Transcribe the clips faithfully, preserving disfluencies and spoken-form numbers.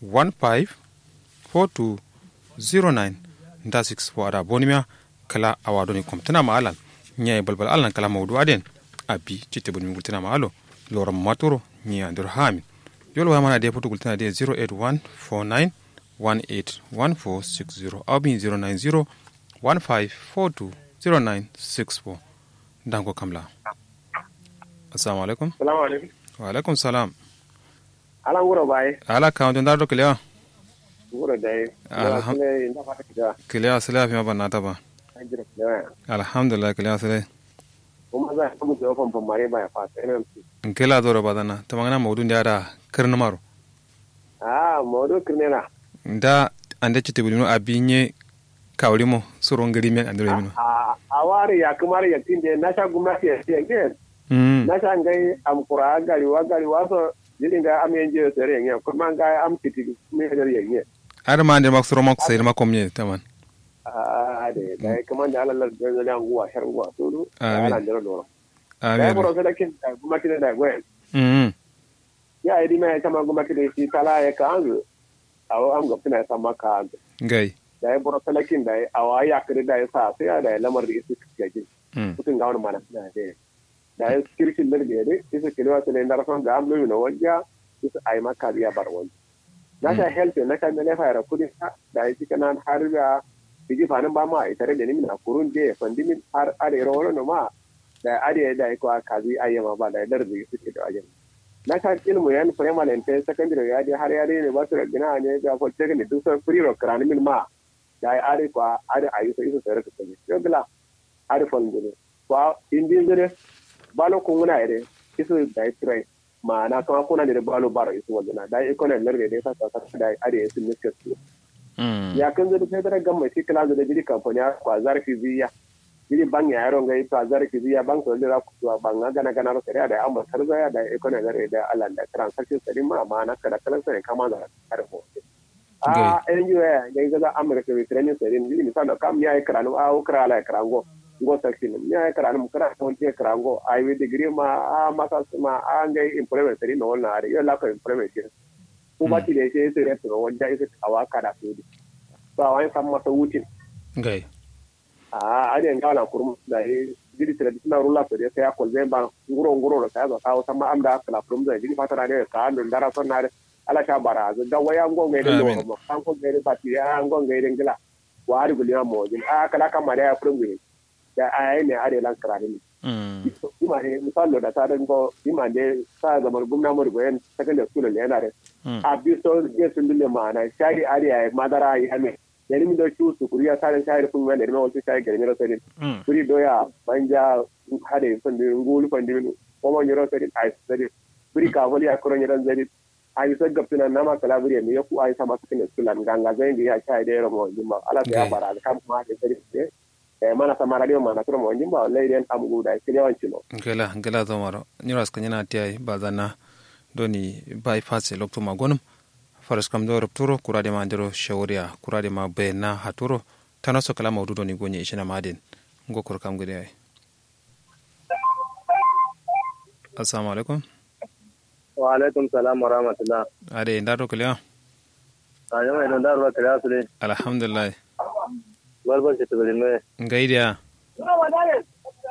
one five four two zero nine nda six four ada bonimiya. Kla awa doni komtuna ma alan nyayi balbal alan kla maudu aden abi citte buni gultuna ma alo loram maturo nyi andiro hamin. Yol waya mana de futu gultuna de zero eight one four nine one eight one four six zero abin zero nine zero one five four two zero nine six four. Dango kamla. Assalamu alaikum. Salamu alaikum. Wa alaikum salam. Ala nguro baye. Ala kawo don daro kilewa. Nguro dai. Alhamdulillah. Kilewa sile afi ma banna ta ba. Alhamdulillah kilewa sile. Kuma za ka mu jawo famfam mare ba ya fa sai nan. Nkela zoro ba zana ta magana maudu ndi ada kirni maro. Ah maudu kirni na. Nda ande citi bulino abinye kawrimo suro ngiri men andiro mino. A wari ya kumari ya tinde na sha gumnati ya tiya ngen. Na sha ngai am kura gari wa gari wa so jiri ngai am yenje yo sere ngen kurma ngai am kiti me ya ngen. Ar ma ande mak suro mak sai ma komye taman. A de dai kuma da Allah la da nguwa sharwa suru. Amin. Ala ndero doro. Amin. Dai boro sadakin da gumnati da gwen. Mm. Ya idi me kama gumnati da shi tala ya ka anzu. Awo am gabtina ya samma ka anzu. Ngai. Dai boro sadakin dai awa ya kiri dai sa sai ya dai lamar da isu kiyajin. Mm. Kutun ga wani mana na dai. Dai kirkin da dai isu kiliwa sai ndara son ga am lumi no wanja. Isu ai maka biya bar wani. Na sha health na sha mele fayara kudi. Dai cikin nan har ga biji fanin ba ma itare da nimin akurun je fandimin har are ro wani no ma. Dai are dai ko kazi ayyama ba dai lardi suke da ajin. Na sha ilmu yan primary and secondary ya dai har ya dai ne ba su da gina ne ga ko cikin duk sai free ro karanin min ma. Dai are ko are ayi sai isu sai raka sai yo bila. Are fal ngure ko indi ngure balo kunguna ire isu dai trai. Ma'ana kama kuna da balo baro isu walluna dai iko ne lardi dai sa sa dai are isu miske su. Ya kan zai sai dara gamma shi kala zai jiri kamfani ko zarafi ziya. Jiri bang ya yaro ngai to zarafi ziya bang to lira ku to bang gana gana ro sai da amma tarza ya da iko ne lardi da Allah da transaction sai ma ma'ana kala kala sai kama da karfo. A N G O ya ngai gaza amurka mai training sarin jiri misali kam ya yi karanu a wukra ala ya karango. Ngo sakin ya yi karanu kara wani ya karango a yi degree ma a masa ma a ngai employment sarin na wannan are yau lafa employment shi. Ku ba ti da shi sai rai turo wani ya isa awa kada su di. Ba wani san masa wucin. Ngai. A are nga wala kurum da yi jiri traditional ruler sarin sai ya kolbe ba nguro nguro da sai ya zo kawo san ma am da kala kurum da jiri fatara ne ka andun dara son na. Ala sha bara zu ga waya ngo ngai de loro mo kan ngo ngai de bati ya ngo ngai de ngila. Wa har guli mo jin a kala kama da ya furun gwi. Da ai ne are lan karani. Ima ne misallo da ta dango ima de sa zaman gumna mo go yan secondary school le yana de. A bi so ge sun dule mana shari are ai madara ya me. Yani min do chu su kuriya sa dan shari kun wanda ne mo chu shari garmi ro sai. Kuri doya banja hade fandi ngulu fandi min. Ko mo nyiro sai ai sai. Kuri ka holi akoro nyiro sai. Ayi so gabtuna nama kala buri ne yaku ayi sama sukine sulan ganga zai ngi ya chai de romo jimma ala ya bara kam ma de sari de. E mana sama radio mana turo mo jimma wallahi den am gu da kire wancino. Ngela ngela zomaro nyiro aska nyana ti ayi bazana doni bypass lokto magonum. Faras kam do rupturo kura de ma ndiro shawriya kura de ma bayna haturo. Tano so kala maudu doni gonye ishina maden. Ngo kur kam gede ayi. Assalamu alaikum. Wa alaikum salam wa rahmatullah. Ade nda to kiliya. Ayo mai don daro kiliya sule. Alhamdulillah. Barbar ce tubulin mai. Ngai dia.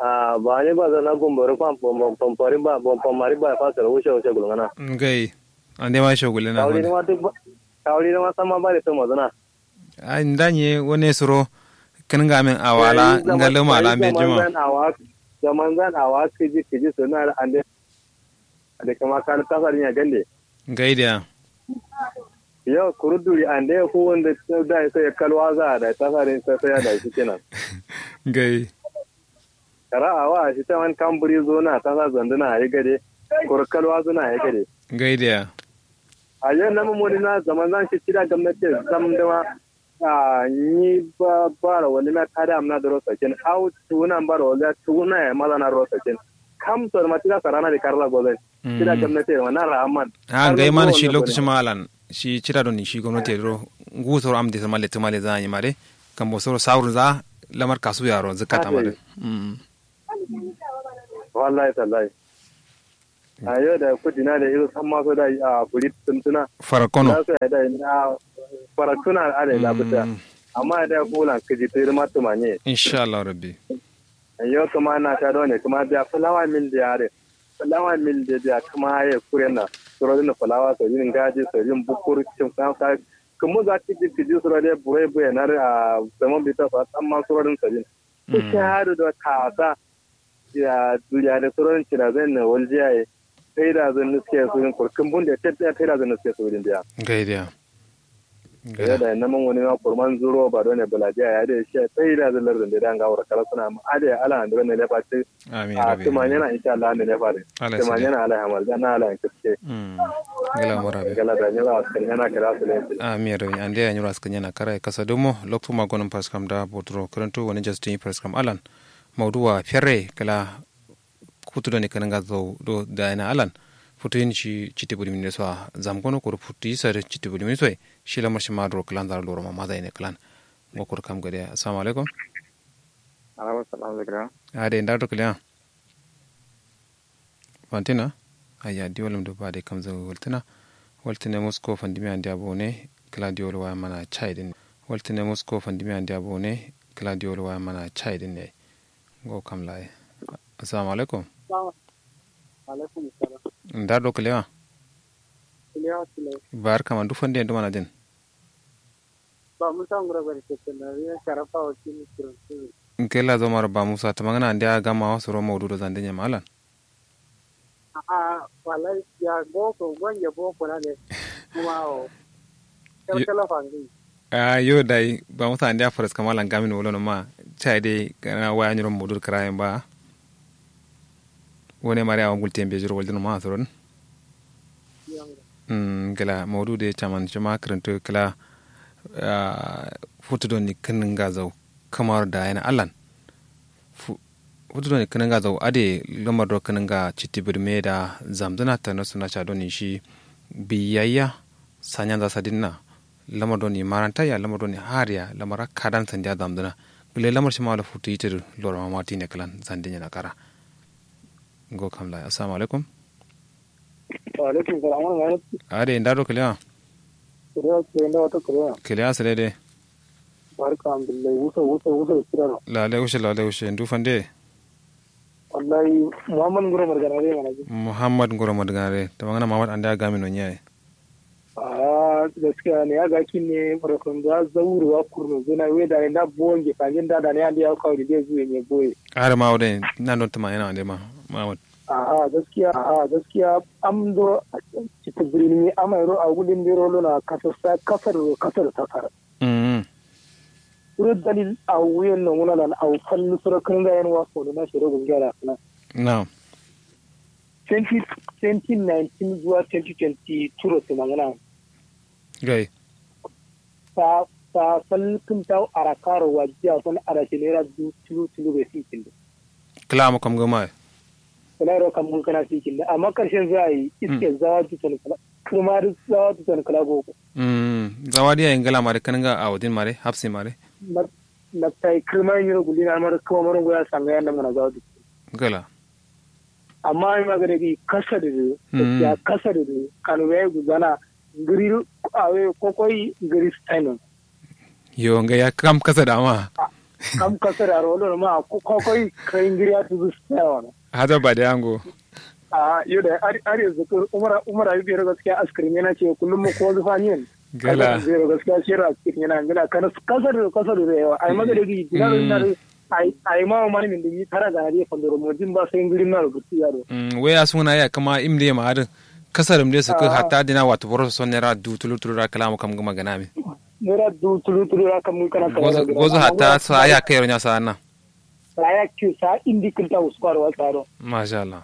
A ba ne ba zana gumbaro pam pam pam pam ba pam mari ba fasara wuce wuce gulgana. Ngai. Ande ma shogulina. Kawri ma duk kawri ma sama ba da to mazana. Ai nda nye wane suro kǝnǝnga min awala ngalǝ mala mbe juma. Zaman zan awa kǝji kǝji sǝna ande. Ande kama kan tasa din ya gande. Ngai dia. Yo kuru duri ande ku wanda da sai kalwa za da tasa din sai sai da shi kenan. Ngai. Kara awa shi ta wani kan buri zo na tasa zanduna ayi gade. Kuru kalwa zuna ayi gade. Ngai dia. Ayo nama moni na zaman zan shi tida gamnati zam dama. A nyi ba bara wani na tada amna doro sakin au tuna bara wani tuna ya maza na doro sakin. Kam so ma tida sarana da karla gozai. Tida gamnati ma na raman. A ngai man shi lokaci malan shi tida don shi gwamnati doro. Ngu soro am de sama letu male za nyi mare. Kambo soro saurun za lamar kasu yaro zakata mare. Wallahi tallahi. Ayo da kudina da izo samma so da a buri tumtuna. Farakkono. Farakkono. Adai da fita. Amma da fulan kiji tiri ma tumanye. Insha Allah rabbi. Yo kuma na sha done kuma biya fulawa mil da yare. Fulawa mil da biya kuma ya kure na. Suro din fulawa so yin gaji so yin bukur cin kanka. Kuma za ki ji kiji suro da burai buya na a zaman bita so amma suro din so yin. Ku shahadu da kasa. Ya duriya da suro din cira zai na waljiya ya. Sai da zan nuske su yin kurkin bun da tafiya sai da zan nuske su yin biya. Gaidiya. Gada. Yau da nan man wani ma kurman zuro ba dole balajiya ya da shi sai da zallar da da ga wura kala suna ma ada ya ala andro ne lefa ce. Amin a rabbi. Tumanya na insha Allah ne lefa de. Ala ya sadi. Tumanya na ala ya hamal da na ala ya kiske. Mm. Gala mara be. Gala da ne ba kan yana kira su ne. Amin rabbi ande ya nyura skan yana kara kasa domo loktu ma gonon paskam da botro karanto wani justin paskam alan. Mauduwa ferre kala. Futu doni kǝnǝnga zau do dayina alan. Futu yin shi citti bǝdǝmin ne so a zamgono kuru futu yi sari citti bǝdǝmin so ye. Shi lamar shi ma duro kǝlan zaro loro ma maza yine kǝlan. Ngo kuru kam gade assalamu alaikum. Alaikum salam zikra. Ade nda do kǝliya. Fantina. Ayya diwalum do bade kam zau waltǝna. Waltǝne musko fandimi andiya bone. Kǝla diwal waya mana chai din. Waltǝne musko fandimi andiya bone. Kǝla diwal waya mana chai din ne. Ngo kam laye. Assalamu alaikum. Alaikum salam. Nda do kǝlewa? Kǝlewa kǝlewa. Barka ma ndu fande ndu mana din? Ba musa ngura bari kekena ya sharafa wakili kiran. Nkela zomar ba musa tamangana andiya gama wasuro maudu do zande nyama alan. A'a, wallahi ya boko gonje boko na ne. Kuma o. Kalkala fangi. A yo dai ba musa andiya faras kama langamin wolo no ma. Chai dai kana waya nyiro modur karayen ba. Wone mare awa gulte mbe jiro waldin ma soron. Ngila maudu de chaman chuma krinto kila. Futu doni kinin ga zau kamar da yana allan. Futu doni kǝnǝnga zau adǝ ye lamar do kǝnǝnga citti bǝrme da zamzǝna tano sǝna ca doni shi. Biyayya sanyanza sadinna. Lamar doni marantayya lamar doni hariya lamar akkadan sandiya zamzǝna. Gǝle lamar shima do futu yitǝ dǝ loroma matine kǝlan sandin yena kara. Ngo kamlaye assalamu alaikum. Wa'alaikum salam. Adǝ ye nda do kǝlewa? Kǝlewa sǝle nda wato kǝlewa. Kǝlewa sǝle dǝ. Barka alhamdulillahi wuso wuso wuso. Lale wushe lale wushe ndu fande? Wallahi muhammad nguro margana dǝ ye mana. Muhammad nguro margana dǝ ye tamangana muhammad ande agami no nyaye. Ahh gaskiya ne ya gakin ne barkon za zauru wa kurno zuna we da ne nda bonge fanjin da da ne ande ya kawo dide zuwe ne boye. Ahh ma wode nan don tuma yana wande ma muhammad. Ahh gaskiya ahh gaskiya. Am do. Citibrini ama yero awulin bero lona kasar kasar kasar. Kuro dalil awu yen nonguna lan awu fallu suro kǝnga yen wa kono na shiro gungera na. Na'am. Twenty twenty nineteen zuwa twenty twenty two ro sumangana. Gai. Sa sa fal kǝntau arakaro wajiya fal arashi naira du tulu tulu bai fi kindi. Kǝla mu kam gǝma ye. Kǝla ro kam gǝma kǝla fi kindi amma karshen za a yi iske zawa duton kǝla. Kǝrma duk zawa duton kǝla goko. Zawa dǝ yayi ngǝla mare kǝnǝnga awudin mare hafsi mare. Naftai kǝrma yin yiro gullina mare kǝma mare ngoya sanga yan namuna zawa duton. Ngǝla. Amma ayi magana gi kasa dǝ dǝ. Ya kasa dǝ dǝ kanu yayi guzana. Ngǝri awe kokoi ngǝri stainun. Yo nga ya kam kasa da ma. Kam kasa da ro lo ma kokoi kai ngiri atu gu stainun. Hada ba da yango. A yo da ari ari zukur umara umara bi ro gaskiya askirin yana ce kullum mu ko zufa nin. Gala zero gaskiya shira askirin yana gala kana kasa da kasa da yawa ai magana gi gala na. Ai ai ma mani min dǝ yi tara gana dǝ ye fandoro mo jin ba sai ngǝrin na rubutu yaro. Wai a suna ya kama im dǝ ye ma adǝ. Kasarǝm dǝ ye sǝkkǝ hatta dina wato boro so naira du tulu tulu ra kǝla mu kam gǝma gǝna mi. Naira du tulu tulu ra kam gǝma gǝna mi. Gozo hatta sa ya kairo nya sa na. Sa ya ki sa indi kǝnta uskwar wa saro. Masha allah.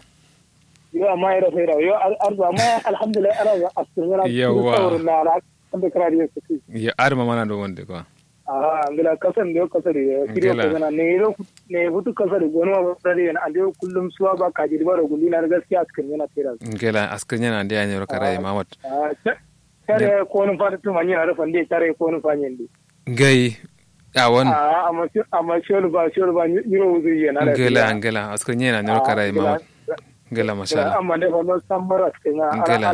Yo amma ira sai ra yo arzu amma alhamdulillah ara askirin yana. Yawwa. Ande kǝra dǝ ye sǝkkǝ. Yo adǝ ma mana do wande kwa. Aha ngila kasan de kasari. Kiri ko ngana ne ro ne hutu kasari gono ma kasari yana ande kullum suwa ba kaji ba ro gundi na gaskiya askar yana tera. Ngila askar yana ande ya ne ro kara ya mamad. Tare ko nun fata tuma ni na ro fande tare ko nun fanye ndi. Ngai. Awon. Amma sholu ba sholu ba ni ro wuzu yana. Ngila ngila askar yana ne ro kara ya mamad. Ngla masha Allah. Amma dai fa no samma raskǝ nya. Ngla.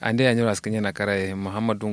Ande ya nyiro askǝ nyena karaye muhammadu.